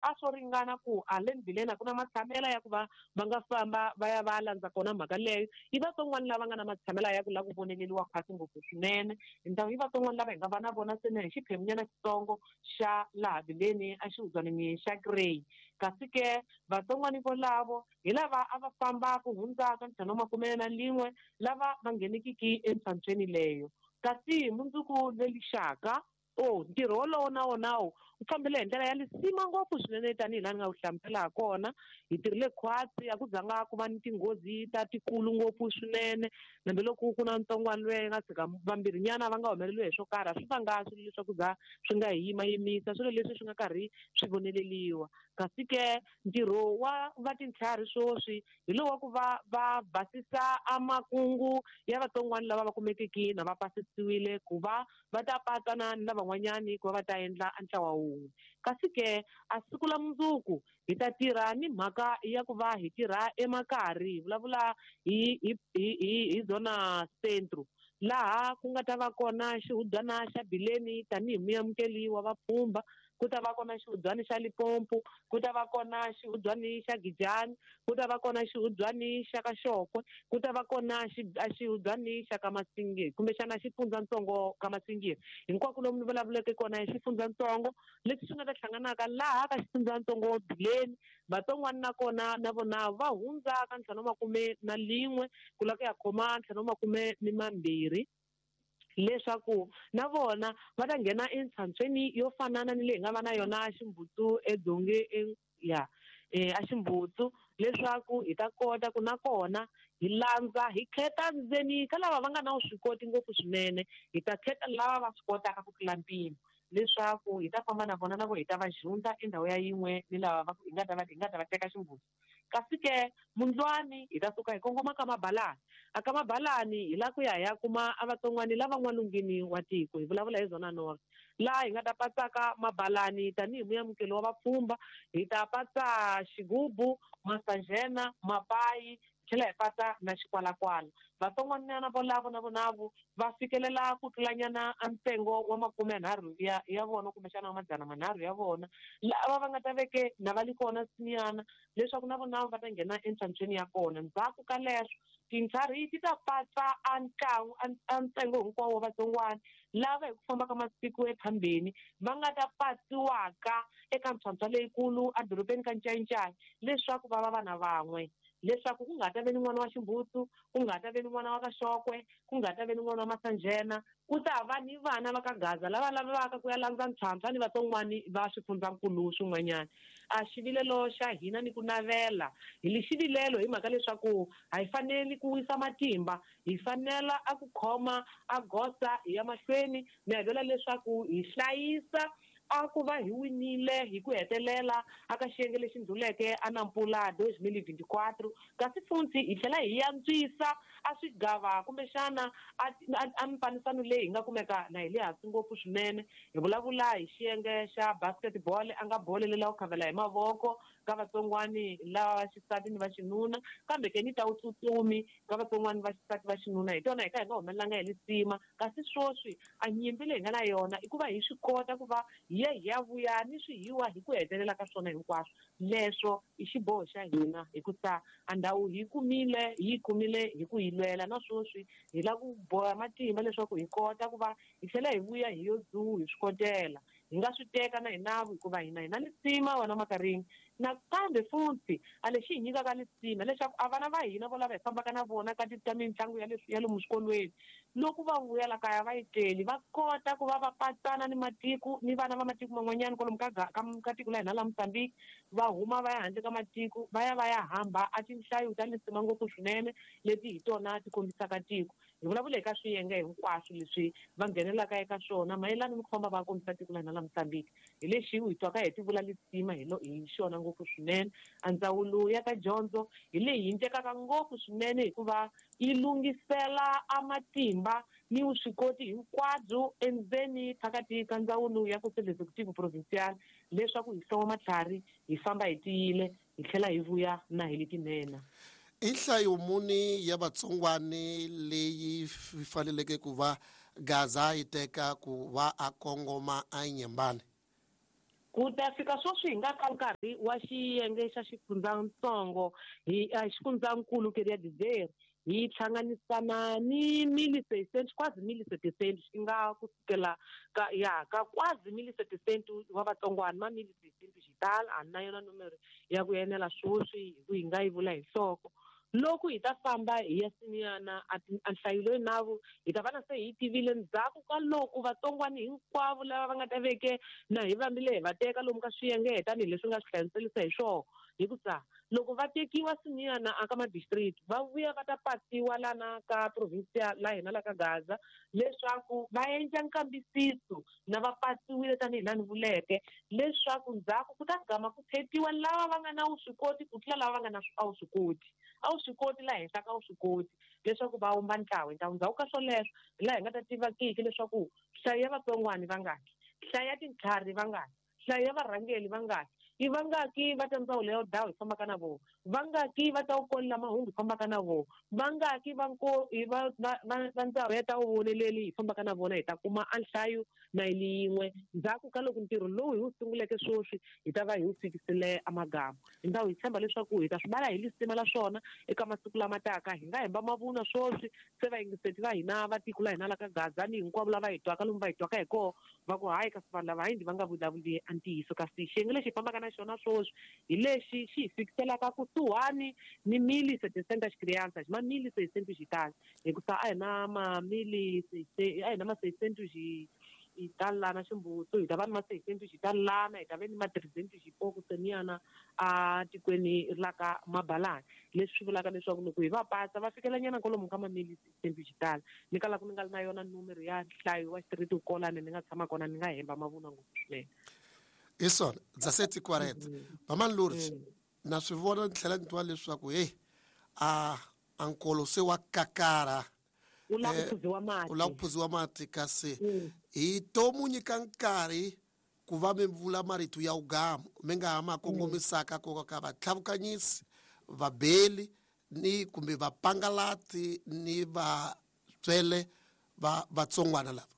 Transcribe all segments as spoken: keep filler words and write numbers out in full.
a swo ringana ku a le ndleleni a ku na matshamela ya ku va va nga famba va ya va landza kona mhaka leyo. I vatsongwana lava nga na matshamela ya ku lava ku voneleriwa khwatsi ngopfu swinene. Hi i vatsongwana lava hi nga va na vona ntsena hi xiphemunyana xitsongo xa laha Bileni a xihudzwanini xa Grey. Kasi ke vatsongwana volavo hi lava a va famba ku hundza ka ntlhanu wa makume na lin'we lava va nghenekiki entshantsweni leyo. Kasi mundzuku lelixaka o ntirho wolowo na wona wu fambile hi ndlela ya lisima ngopfu swinene tanihi laha ni nga wu hlamusela ha kona. Hi tirhile khwatsi, a ku zanga ku va ni tinghozi ta tikulu ngopfu swinene, hambiloko ku na ntsongwana loyi nga tshika vambirhinyana va nga humeleriwi hi swo karhi, a swi vanga swilo leswaku za swi nga hi yimayimisa, swilo leswi swi nga karhi swi voneleriwa. Kasi ke ntirho wa va tintlhari sweswi hi lowu wa ku va va basisa a makungu ya vatsongwana lava va kumekiki na va pasisiwile ku va va ta patsana ni lavan'wanyani ku va va ta endla a ntlawa wun'we. Kasi ke a siku la mundzuku hi ta tirha ni mhaka ya ku va hi tirha emakari, hi vulavula hi hi hi hi zona centro, laha ku nga ta va kona xihudzwana xa Bileni tanihi muamukeli wa vapfhumba, ku ta va kona xihudzwani xa Limpopo, ku ta va kona xihudzwani xa Gijani, ku ta va kona xihudzwani xa Kaxokwe, ku ta va kona xihudzwani xa ka Masingi kumbexana xifundzatsongo ka Masingi. Hinkwako lomu ni vulavuleke kona hi xifundzatsongo leswi swi nga ta hlanganaka laha ka xifundzatsongo Bileni, vatsongwana na kona na vona va hundza ka ntlhanu wa makume na lin'we ku lava ku ya khoma ntlhanu wa makume ni mambirhi, leswaku na vona va ta nghena entshantsweni yo fanana ni leyi nga va na yona Ximbutsu edzonge ya a Ximbutsu, leswaku hi ta kota ku na kona hi landza hi khetha ndzeni ka lava va nga na vuswikoti ngopfu swinene, hi ta khetha lava va swi kotaka ku tlula mpimo, leswaku hi ta famba na vona na vo hi ta va junda endhawu ya yin'we ni lava va hi nga ta va hi nga ta va teka Ximbutsu. Kasi ke mundlwani hi ta suka hi kongoma ka Mabalani. A ka Mabalani hi la ku ya hi ya kuma a vatsongwani lava n'walungwini wa tiko, hi vulavula hi zona north, laha hi nga ta patsaka Mabalani tanihi muamukeli wa vapfhumba, hi ta patsa Xigubu, Masanjena, Mapayi, tlhela hi patsa na Xikwalakwala. Vatsongwanyana volavo na vonavo va fikelela ku tlulanyana a ntsengo wa makume nharhu ya ya vona kumbexana wa madzana manharhu ya vona, lava va nga ta veke na va li kona sinyana leswaku na vona va ta nghena entshantsweni ya kona. Ndzhaku ka leswo tintlhari ti ta patsa a ntlangu a ntsengo hinkwawo wa vatsongwana lava hi ku famba ka masiku ephambeni va nga ta patsiwaka eka ntlhontlho leyikulu edorobeni ka Ncayincayi, leswaku va va vana van'we, leswaku ku nga ta ve ni n'wana wa Ximbutsu, ku nga ta ve ni n'wana wa Kaxokwe, ku nga ta ve ni n'wana wa Masanjena, ku ta va ni vana va ka Gaza lava lavaka ku ya landza ntlhantlha ni vatsongwani va swifundzankulu swin'wanyana. A xivilelo xa hina ni ku navela hi li xivilelo hi mhaka leswaku a hi faneli ku wisa matimba, hi fanela a ku khoma a goza hi ya mahlweni, ni havela leswaku hi hlayisa a ku va hi winile hi ku hetelela aka xiyenge lexi ndluleke a Nampula dois mil e vinte e quatro. Kasi futhi hi tlhela hi antswisa a swigava kumbexana a a mifanisano leyi hi nga kumeka na hi le hansi ngopfu swinene. Hi vulavula hi xiyenge xa basketball, a nga bolo lela ku khavela hi mavoko ka vatsongwani lava va xisati ni va xinuna, kambe ke ni ta vutsutsumi ka vatsongwani va xisati va xinuna, hi tona hi ka hi nga humelelanga hi lisima. Kasi sweswi a nyimpi leyi hi nga na yona i ku va hi swi kota ku va hi ya hi ya vuya ni swihiwa hi ku hetelela ka swona hinkwaswo. Leswo i xiboho xa hina hikusa a ndhawu hi kumile hi yi kumile hi ku yi lwela, na sweswi hi lava ku boha matimba leswaku hi kota ku va hi tlhela hi vuya hi yo dzuwa hi swi kotela. Hi nga swi teka na hina hikuva hina hi na lisima wena Makarini. Nakambe futhi a lexi hi nyikaka lisima leswaku a vana va hina vo lava hi fambaka na vona ka ka mitlangu ya leswi ya lomu swikolweni, loko va vuya la kaya va yi teli va kota ku va va patsana ni matiko ni vana va matiko man'wanyana kwalomu ka ka ka tiko la hina la Mozambique, va huma va ya handle ka matiko va ya va ya hamba a tinhlayo ta lisima ngopfu swinene leti hi tona ti kombisaka tiko. Hi vulavula hi ka swiyenge hinkwaswo leswi va nghenelaka eka swona mayelana ni ku famba va kombisa tiko la hina la Mozambique. Hi lexi hi twaka hi ti vula lisima hi lo hi xona ngopfu swinene. A ndzawulo ya ka dyondzo hi leyi yi tekaka ngopfu swinene hikuva yi lunghisela a matimba ni vuswikoti hinkwabyo endzeni phakathi ka ndzawulo ya Conselho Executivo Provincial leswaku hi hloma matlhari hi famba hi tiyile hi tlhela hi vuya na hi letinene. I nhlayo muni ya vatsongwani leyi faneleke ku va Gaza yi teka ku va a kongoma a Nyembane? Ku ta fika sweswi hi nga ka nkarhi wa xiyenge xa xifundzatsongo hi xifundzankulu queria dizer hi hlanganisana ni mille seiscentos quase mille setecentos i nga kusukela ka ya ka quase mille setecentos wa vatsongwana ma mille seiscentos hi tala a na yona numero ya ku enela sweswi hi ku hi nga yi vula hi nhloko. Loko hi ta famba hi ya siniyana a nhlayo leyi navo hi ta va na se hi tivile ndzhaku ka loko vatsongwana hinkwavo lava va nga ta veke na hi vambile hi va teka lomu ka swiyenge tanihileswi nga swi hlamuselisa hi swona hikusa loko va tekiwa siniyana aka ma-district va vuya va ta pasiwa lana ka provincia la hina la ka Gaza leswaku va endla nkambisiso na va pasiwile tanihi laha ni vuleke leswaku ndzhaku ku ta gama ku khetiwa lava va nga na vuswikoti ku tlula lava va nga na a wu swi koti a wu swi koti laha henhla ka vuswikoti leswaku va wumba ntlawa. Ntlawa ndzhaku ka swoleswo hi laha hi nga ta tiva kiki leswaku nhlayo ya vatsongwana vangaki, nhlayo ya tintlhari vangaki, nhlayo ya varhangeli vangaki, i vangaki va ta ndzawulo ya dawu hi fambaka na vona, vangaki va ta wukolela mahungu hi fambaka na vona, vangaki va nko va va va ndzawulo ya ta vuvoneleli hi fambaka na vona. Hi ta kuma a nhlayo na yin'we ndzhaku ka loko ntirho lowu hi wu sunguleke sweswi hi ta va hi wu fikisile amagama. Hi ndhawu hi tshemba leswaku hi ta swi vala hi lisima la swona eka masiku lama taka. Hi nga hemba mavunwa sweswi se vayingiseti va hina va tiko la hina la ka Gaza ni hinkwavo lava hi twaka lomu va hi twaka hi koho va ku hayi kasi vanhu lava hayi va nga vulavuli a ntiyiso. Kasi xiyenge lexi hi fambaka na xona sweswi hi lexi xi hi fikiselaka kusuhani ni mille setecentas crianças ma mille seiscentos e tal hikusa a hi na ma mille a hi na ma seiscentos hi talana ximbuto hi ta va ni ma seiscentos hi talana hi ta va ni ma trezentos hi poco seniyana a tikweni la ka Mabalani, leswi swi vulaka leswaku loko hi va pasa va fikela nyana kwalomu ka ma mille seiscentos hi tala. Ni kala ku ni nga ri na yona numero ya nhlayo wa xitiriti kolani ni nga tshama kona ni nga hemba mavunwa ngopfu swinene. Hi swona dezessete e quarenta Mamani Lourdes na swi vona ni tlhela ni twa leswaku heyi a a nkolo se wa kakara u lava ku phuziwa mati u lava ku phuziwa mati kasi hi to mu nyika nkarhi ku va mi vula marito ya ugamu mi nga ha ma kongomisaka ko ka vatlhavukanyisi vabeli ni kumbe vapangalati ni vatswele va vatsongwana lava.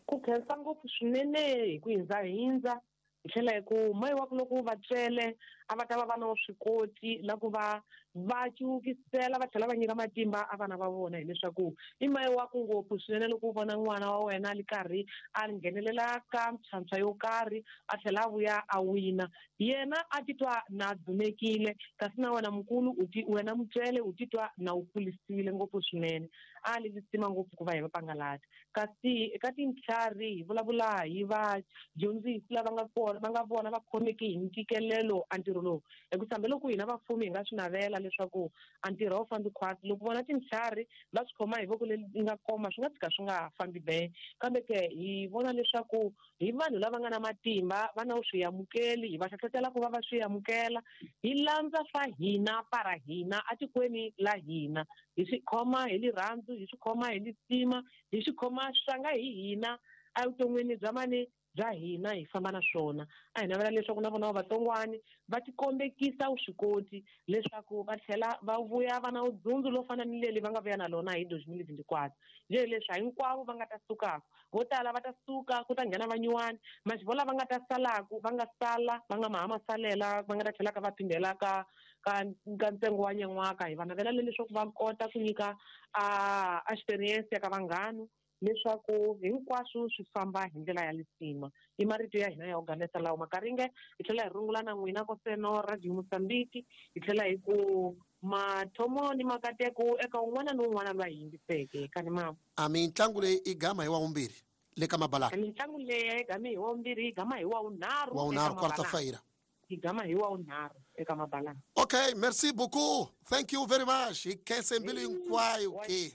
Ku khensa ngopfu swinene hi ku hindza hindza hi tlhela hi ku mayi wa ku loko va tswele a va ta va va na vuswikoti la ku va va ciwukisela va tlhela va nyika matimba a vana va vona, hileswaku i mayi wa ku ngopfu swinene loko u vona n'wana wa wena a li karhi a nghenelela ka mintlhantlha yo karhi a tlhela a vuya a wina yena a titwa na dzunekile kasi na wena mukulu u ti wena mutswele u titwa na u kulisiwile ngopfu swinene. A li lisima ngopfu ku va hi vapangalati kasi eka tintlhari hi vulavula hi vadyondzisi lava nga kona va nga vona va khomeki hi ntikelelo a ntirho lowu hikusa hambiloko hina vafumi hi nga swi navela leswaku a ntirho a wu fambi khwatsi loko vona tintlhari va swi khoma hi voko leri nga koma swi nga tshika swi nga fambi be kambe ke hi vona leswaku hi vanhu lava nga na matimba va na swi amukeli hi va hlohlotela ku va va swi amukela hi landza swa hina para hina atikweni la hina hi swi khoma hi lirhandzu hi swi khoma hi lisima hi swi khoma swanga hi hina evuton'wini bya mani bya hina hi famba na swona. A hi navela leswaku na vona vatsongwani va tikombekisa vuswikoti leswaku va tlhela va vuya va na vudzundzu lo fana ni leli va nga vuya na lona hi dois mil vinte e quatro njhe leswi hinkwavo va nga ta sukaka vo tala va ta suka ku ta nghena vanyuwani maxivo lava nga ta salaku va nga sala va nga maha masalela va nga ta tlhelaka va phindela ka ka ka ntsengo wa nyan'waka hi va navela leswaku va kota ku nyika a experience ka vanghana leswaku hinkwaswo swi famba hi ndlela ya lisima. I marito ya hina ya organisa lawa makaringe hi tlhela hi rungula na n'wina koseno Radio Mozambique hi tlhela hi ku mathomo ni makateko eka un'wana ni un'wana loyi a yingiseke kani mama. A mitlangu leyi i gama hi wa vumbirhi le ka Mabalani. Mitlangu leyi i gama hi wa vumbirhi i gama hi wa vunharhu wa vunharhu quarta-feira i gama hi wa vunharhu eka Mabalani. Okay, merci beaucoup. Thank you very much. Hi khense mbilu hinkwayo ke.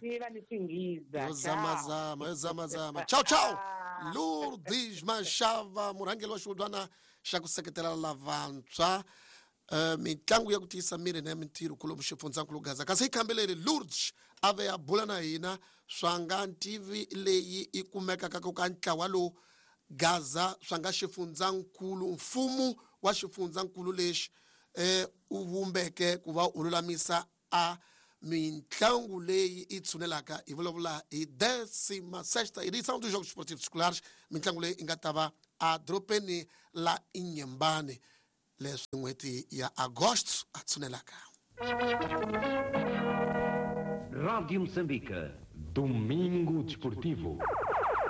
Yo zamazama, yo zamazama. Tchau, tchau. Lourdes Mashava, murhangeri wa xihubyana xa ku seketela lavantshwa. Uh, mitlangu ya ku tiyisa miri na ya mintirho kolomu xifundzankulu Gaza. Kasi hi khambeleri Lourdes a ve a bula na hina swa nga ntivi leyi i kumekaka ka ntlawa lowu Gaza swa nga xifundzankulu mfumo wa xifundzankulu lexi eh u vumbeke ku va u lulamisa a mitlangu leyi i tshunelaka hi vulavula hi décima sexta edição dos Jogos Esportivos Escolares, mitlangu leyi i nga ta va a dorobeni la Inhambane leswi n'hweti ya Agosto a tshunelaka. Rádio Moçambique. Domingo Desportivo.